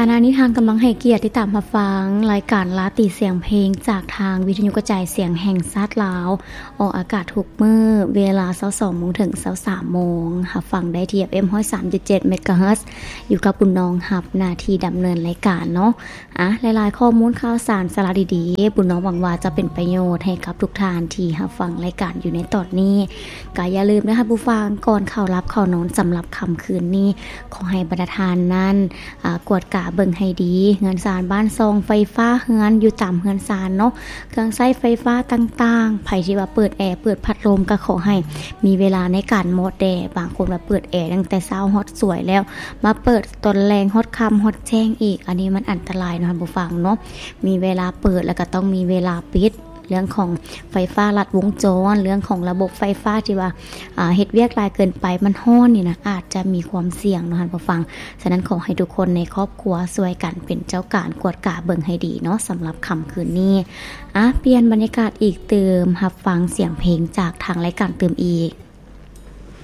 ຂະນະນີ້ທ່ານກຳລັງໃຫ້ກຽດຕິດຕາມຮັບຟັງລາຍການລາຕີສຽງເພງ ຈາກທາງວິທະຍຸກະຈາຍສຽງແຫ່ງຊາດລາວ ອອກອາກາດທຸກມື້ເວລາຊາວສອງໂມງເຖິງຊາວສາມໂມງ. ຮັບຟັງໄດ້ທີ່ ເອັຟເອັມ ຮ້ອຍສາມຈຸດເຈັດ ເມກາເຮີດ ຢູ່ກັບບຸນນ້ອງຮັບໜ້າທີ່ດຳເນີນລາຍການເນາະ. ອາ ຫຼາຍໆຂໍ້ມູນຂ່າວສານສາລະດີໆ ບຸນນ້ອງຫວັງວ່າຈະເປັນປະໂຫຍດໃຫ້ກັບທຸກທ່ານທີ່ຮັບຟັງລາຍການຢູ່ໃນຕອນນີ້. ກໍຢ່າລືມເດີທ່ານຜູ້ຟັງ ກ່ອນເຂົ້າຫຼັບເຂົ້ານອນສຳລັບຄ່ຳຄືນນີ້ ຂໍໃຫ້ບັນດາທ່ານນັ້ນ ອາ ກວດກາເບິ່ງໃຫ້ດີ ເຮືອນຊານບ້ານຊ່ອງ ໄຟຟ້າເຮືອນຢູ່ຕາມເຮືອນຊານເນາະ ເຄື່ອງໃຊ້ໄຟຟ້າຕ່າງໆ ໃຜທີ່ວ່າເປີດແອ ເປີດພັດລົມ ກໍຂໍໃຫ້ມີເວລາໃນການມອດແດ່. ບາງຄົນວ່າເປີດແອຕັ້ງແຕ່ເຊົ້າຮອດສວຍແລ້ວ ມາເປີດຕອນແລງຮອດຄ່ຳຮອດແຈ້ງອີກ ອັນນີ້ມັນອັນຕະລາຍເນາະທ່ານຜູ້ຟັງເນາະ. ມີເວລາເປີດ ແລ້ວກໍຕ້ອງມີເວລາປິດ. ເລື່ອງຂອງໄຟຟ້າລັດວົງຈອນ ເລື່ອງຂອງລະບົບໄຟຟ້າທີ່ວ່າ ອາ ເຮັດວຽກຫຼາຍເກີນໄປ ມັນຮ້ອນນີ້ນະ ອາດຈະມີຄວາມສ່ຽງເນາະທ່ານຜູ້ຟັງ. ສະນັ້ນ ຂໍໃຫ້ທຸກຄົນໃນຄອບຄົວຊ່ວຍກັນເປັນເຈົ້າການກວດກາເບິ່ງໃຫ້ດີເນາະ ສຳລັບຄ່ຳຄືນນີ້. ອາ ປ່ຽນບັນຍາກາດອີກຕື່ມ ຮັບຟັງສຽງເພງຈາກທາງລາຍການຕື່ມອີກ.